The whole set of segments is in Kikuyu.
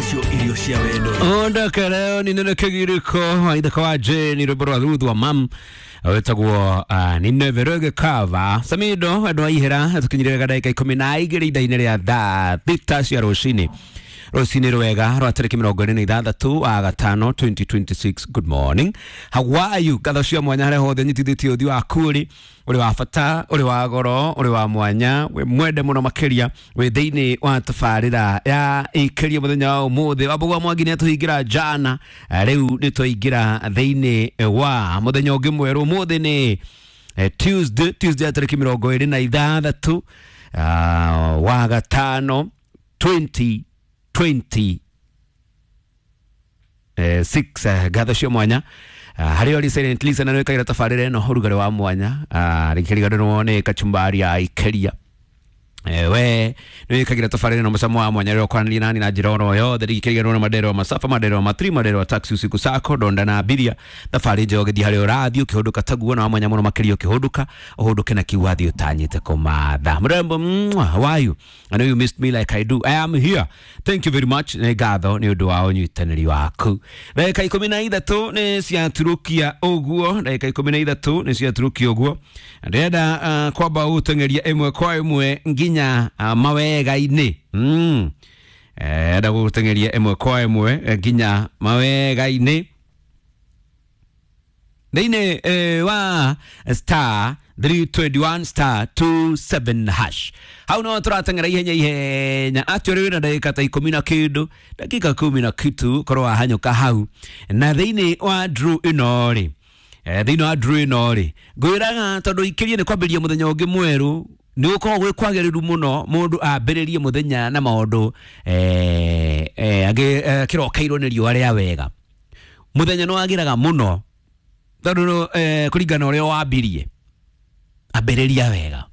Nĩcio irio cia wendo. Ondoka leo ni nene kĩgirĩko waithaka wa Jane rwĩmbo rwa Ruth wa mam wĩtagwo ni neverege cover Samido andũ a ihera tũkinyire wega ndagĩka 12 ithaa-inĩ rĩa thaa 6 cia rũcinĩ rũcinĩ rwega rwa tarĩki 26 wa gatano 2026. Good morning, how are you? Ngatho cia mwanya harĩa hothe nyitithĩtie ũthiũ waku ũrĩ ũrĩ wa bata, ũrĩ wa goro, ũrĩ wa mwanya, wĩ mwende mũno makĩria, wĩ thĩinĩ wa tabarĩra ya ĩkĩria mũthenya wa ũmũthĩ. Wambũgwa Mwangi nĩ atũhingĩra jana. Rĩu nĩ twaingĩra thĩinĩ wa mũthenya ũngĩ mwerũ. Ũmũthĩ nĩ Tuesday ya tarĩki 26 wa gatano 2026. Ngatho cia mwanya harĩa ũrĩ silent listener nĩ wĩkagĩra tabarĩra ĩno ũrugarĩ wa mwanya, rĩkĩriganĩrwo nĩ kachumbari ya ikeria. We nĩ wĩkagĩra tabarĩra ĩno mũcamo wa mwanya rĩrĩa ũkwaranĩria nani na njĩra oro yothe, rĩkĩriganĩrwo na mandero masafa, mandero matri, mandero taxi, usiku sako donda na abiria, thabarĩ njega ũgĩthiĩ harĩa ũrathiĩ ũkĩhũndũka taguo na wa mwanya mũno makĩria ũkĩhũndũka ũhũndũke na kiu wathiĩ ũtanyĩte kũmatha mũrembo. Mwah, how are you? I know you missed me like I do. I am here. Thank you very much. Nĩ ngatho nĩ ũndũ wa ũnyitanĩri waku. Ndagĩka 13 nĩ ciaturũkia ũguo, ndagĩka 13 nĩ ciaturũkia ũguo. Ndĩrenda kwamba gũteng'eria ĩmwe kwa ĩmwe nginya mawega-inĩ. Enda gũteng'eria ĩmwe kwa ĩmwe nginya mawega-inĩ thĩinĩ wa star 321 star 27 hash. Hau no tũrateng'era ihenya ihenya atĩ ũrĩ wĩna ndagĩka ta ikũmi na kĩndũ, dakika kumi na kitu, korwo wahanyũka hau. Na thĩinĩ wa draw ĩno rĩ, thĩinĩ wa draw ĩno rĩ, ngwĩraga tondũ ikĩrie nĩ kwambĩrĩria mũthenya ũngĩ mwerũ, nĩ gũkoragwo gwĩ kwagĩrĩru mũno mũndũ ambĩrĩrie mũthenya na maũndũ kĩrokeirwo nĩ riũa rĩa wega. Mũthenya nĩ wagĩraga mũno tondũ kũringana na ũrĩa wambirie. Ambĩrĩria wega,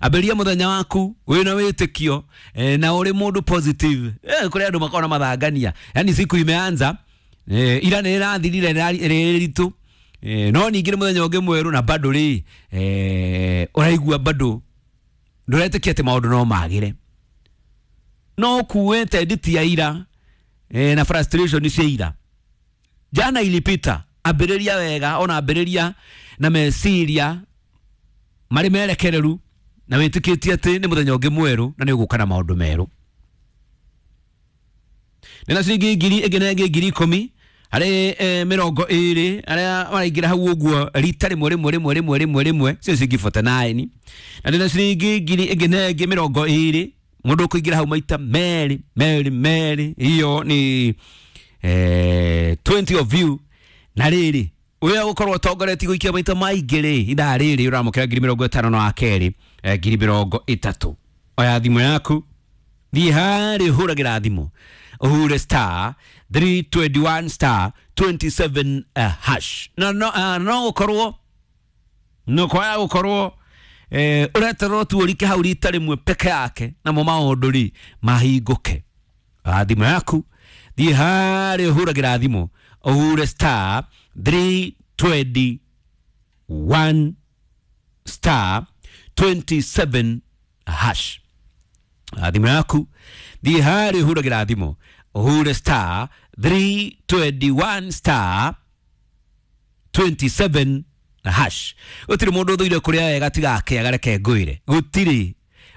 ambĩrĩria mũthenya waku wĩna wĩtĩkio na ũrĩ mũndũ positive. Kũrĩ andũ makoragwo na mathangania, yani siku imeanza, ira nĩ ĩrathirire rĩrĩ ritũ, no ningĩ nĩ mũthenya ũngĩ mwerũ na bado rĩ, ũraigua bado ndũretĩkia atĩ maũndũ no magĩre, no ũkuĩte nditi ya ira na frustration cia ira. Jana ilipita. Ambĩrĩria wega, ona ambĩrĩria na meciria marĩ merekereru na wĩtĩkĩtie atĩ nĩ mũthenya ũngĩ mwerũ na nĩ ũgũka na maũndũ merũ. Nĩ na ciringi ngiri ĩngĩ na ĩngĩ 10,000 harĩ 20 arĩa maraingĩra hau ũguo rita rĩmwe rĩmwe rĩmwe rĩmwe rĩmwe rĩmwe, cio ciringi 49. Na ndĩ na ciringi ngiri ĩngĩ na ĩngĩ 20 mũndũ ũkũingĩra hau maita merĩ merĩ merĩ, iyo ni 20 of you. Na rĩrĩ ũrĩa gũkorwo ũtongoretie gũikia maita maingĩ rĩ, ithaa rĩrĩ ũramũkĩra 50,000 na wa kerĩ 30,000. Oya thimũ yaku, thiĩ harĩa ũhũragĩra thimũ, ũhure star 321 star 27 hash. Na no gũkorwo no kwaya gũkorwo ũreterwo tu ũrike hau rita rĩmwe peke yake, namo maũndũ rĩ mahingũke. Thimũ yaku, thiĩ harĩa ũhũragĩra thimũ, ũhure star 321 star 27 hash. Thimũ yaku, thiĩ harĩa ũhũragĩra thimũ, ũhure star 321 star 27 hash. Gũtirĩ mũndũ ũthũire kũrĩa wega tiga akĩaga, reke ngwĩre gũtirĩ.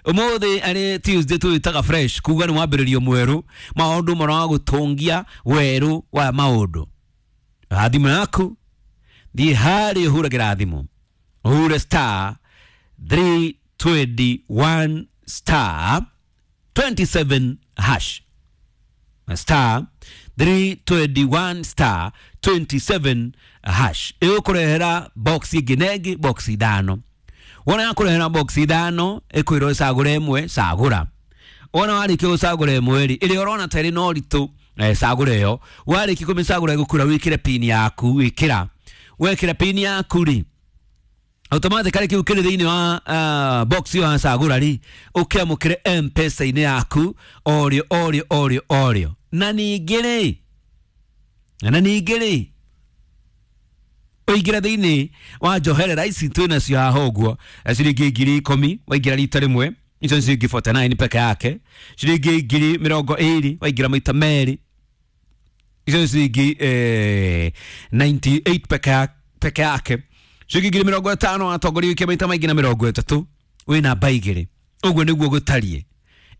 Ũmũthĩ arĩ Tuesday tũĩtaga fresh, kuga nĩ mwambĩrĩrio mwerũ, maũndũ maragũtũngia werũ wa maũndũ. Thimũ yaku, thiĩ harĩa ũhũragĩra thimũ, ũhure star 321 star 27 hash, star 321 star 27 hash. Ĩgũkũrehera box ĩngĩ na ĩngĩ, box ithano. Wona yakũrehera box ithano, ĩkwĩrwo ũcagũre ĩmwe, cagũra. Wona warĩkia gũcagũra ĩmwe rĩ, ĩrĩa ũrona ta ĩrĩ na ũritũ, cagũra ĩyo. Warĩkia kũmĩcagũra ĩgũkwĩra wĩkĩre pin yaku, wĩkĩra. Wekĩra pin yaku rĩ, automatically kĩu kĩrĩ thĩinĩ wa box ĩyo wacagũra rĩ, ũkĩamũkĩre M-Pesa-inĩ yaku orĩo orĩo orĩo orĩo. Na ningĩ rĩ, ũingĩre thĩinĩ wa njoherera ici twĩnacio haha ũguo, ciringi 10,000 waingĩra rita rĩmwe. Icio nĩ ciringi 49 peke yake. Ciringi 20,000 waingĩra maita merĩ, icio nĩ ciringi 98 peke yake. Ciringi 50,000 watongoria wĩkie maita maingĩ na 30, wĩ namba igĩrĩ. Ũguo nĩguo gũtariĩ.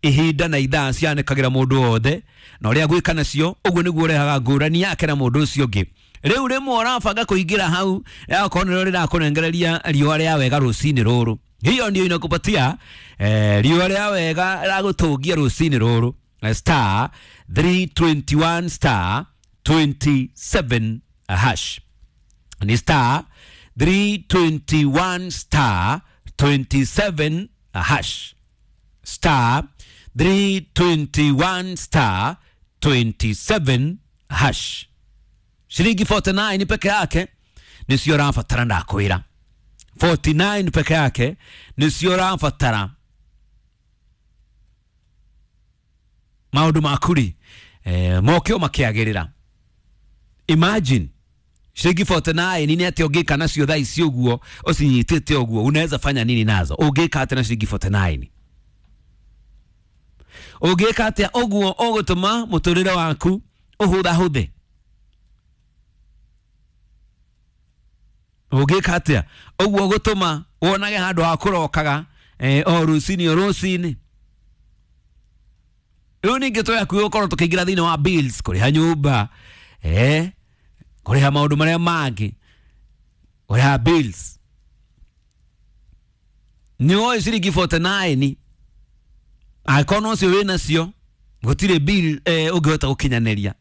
Ihinda na ithaa cianĩkagĩra mũndũ wothe na ũrĩa gwĩka nacio, ũguo nĩguo ũrehaga ngũrani yake na mũndũ ũcio ũngĩ. Rĩu rĩmwe ũrabanga kũingĩra hau, akorwo nĩrĩo rĩrakũnengereria riũa rĩa wega rũcinĩ rũrũ, hiyo ndio inakupatia riũa rĩa wega rĩragũtũngia rũcinĩ rũrũ. Star 321 star 27 hash, ni star 321 star 27 hash, star 321 star 27 hash. Shilingi 49 peke yake nĩcio ũrabatara, ndakwĩra 49 peke yake nĩcio ũrabatara maũndũ maku rĩ moke o makĩagĩrĩra. Imagine shilingi 49 nĩ atĩa ũngĩka nacio thaa ici ũguo ũcinyitĩte ũguo, unaweza fanya nini nazo? Ũngĩka atĩa na shilingi 49? Ũngĩka atĩa ũguo ũgũtũma mũtũrĩre waku ũhũthahũthe? Ũngĩka atĩa ũguo ũgũtũma wonage handũ ha kũrokaga o rũcinĩ o rũcinĩ? Rĩu ningĩ tũyakuĩ gũkorwo tũkĩingĩra thĩinĩ wa bills, kũrĩha nyũmba, kũrĩha maũndũ marĩa mangĩ, kũrĩha bills. Nĩ woĩ ciringi 49 angĩkorwo no cio wĩnacio, gũtirĩ bill ũngĩhota gũkinyanĩria.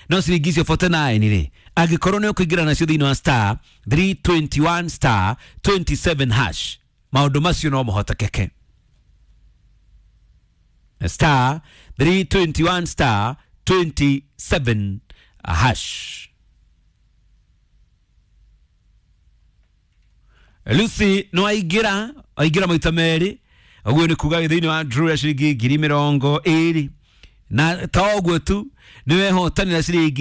No ciringi icio 49 rĩ, angĩkorwo nĩ ũkũingĩra nacio thĩinĩ wa star 321 star 27 hash, maũndũ macio no mahotekeke. Star 321 star 27 hash. Lucy no aingĩra, aingĩra maita merĩ, ũguo nĩ kuga thĩinĩ wa draw ya ciringi 20,000, na ta ũguo tu nĩ wehotanĩra ciringi